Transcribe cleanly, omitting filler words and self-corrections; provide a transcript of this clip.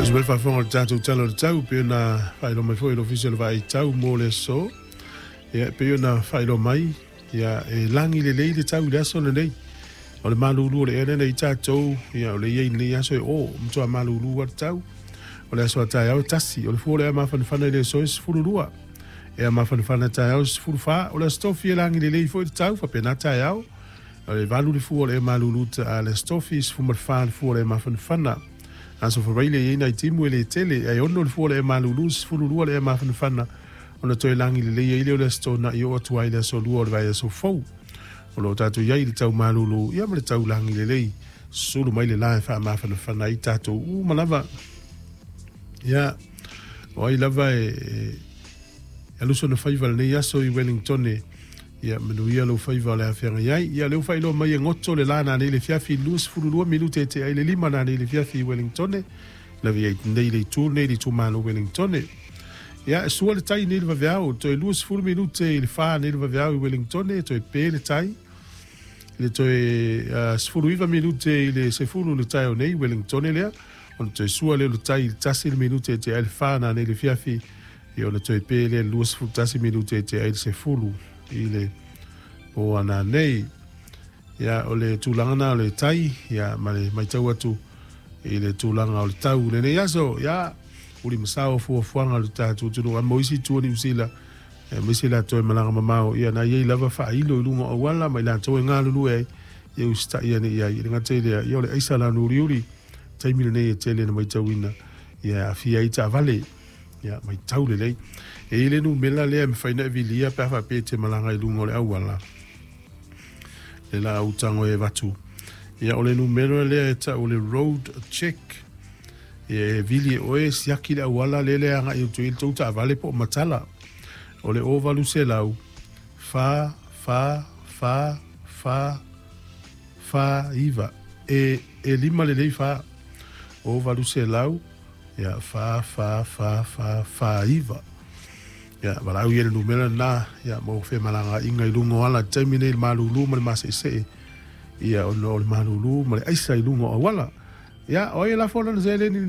Se mai faafofoga o le tatou Tala o le Tau, pei ona faailoa mai foi e le Ofisa o le Vaai Tau mo le aso. Ia, pei ona faailoa mai, ia, e lagi lelei le tau i le aso lenei. O le malulu o le ea lea na i tatou, ia, o le i ai i lenei aso e o, matua malulu lava le tau. O le aso a taeao e 1, o le fua o le ea mafanafana i le aso e 12. Ea mafanafana taeao e 14, o le aso tofi e lagi lelei foi le tau, faapena taeao. O le 8 le fua o le ea malulu ta le aso tofi, 14 le fua o le ea mafanafana. Aso Faraile e i ai nai timu e le tele, ae 6 le fua o le ea malulu, 12 le ea mafanafana, ona toe lagi lelei ai lea o le Aso Toonai oo atu ai i le Aso Lua o le vaiaso fou. O lo o tatou i ai i le tau malulu ia ma le tau lagi lelei, sulu mai le la e faamafanafana ai tatou uma lava. Ia, o ai lava e alu sona faiva lenei aso i Wellingtone, ia manuia lou faiva o le a feagai ai. Ia, lea ua faailoa mai e goto le la nanei le fiafi 22 minute e tea i le 5 nanei le fiafi i Wellingtone, lave ai nei le itu nei le itumalo Wellingtone. Ia, e sua le tai nei le vaveao, toe 20 minute i le 4 nei le vaveao i Wellingtone, toe pe le tai. I le toe 19 minute i le 10 le taeao nei i Wellingtone lea, ona toe sua lea o le tai i le 1 le minute e tea ai le 4 nanei le fiafi, ia ona toe pe lea i le 21 minute e tea ai le 10 i le po ananei. Ia, o le tulaga na o le tai, ia, ma le matau atu i le tulaga o le tau i lenei aso, ia, uli ma sao fuafuaga o le tatou atunuu. A mo isi itu o Niu Sila, aemaise latou e malaga mamao, ia na i ai lava faailo i luga o auala ma i latou e galulue ai, ia usitai ane i ai. E le gata i lea, ia o le aisa lanu uliuli, taimi lenei e tele na matauina, ia e aafia ai taavale. Ia, matau lelei. E i ai le numera lea e mafai ona e vilia pe a faapea e te malaga i luga o le auala. Le la ou tago e avatu. Ia, o le numera lea e tau o le road check. Ia, e vili e oe siaki le auala lele e agai atu ai le tou taavale po o matala. O le 0800 4 4 4 4 4 9. E 5 lelei 4. 0800 ia 4 4 4 4 4 9. Ia, valaau ia i le numera lena, ia, mo femalagaaiga i luga o ala i le taimi nei i le malulu ma le maseesee, ia, ona o le malulu ma le aisa i luga o auala. Ia, o ai e lafo lana seleni i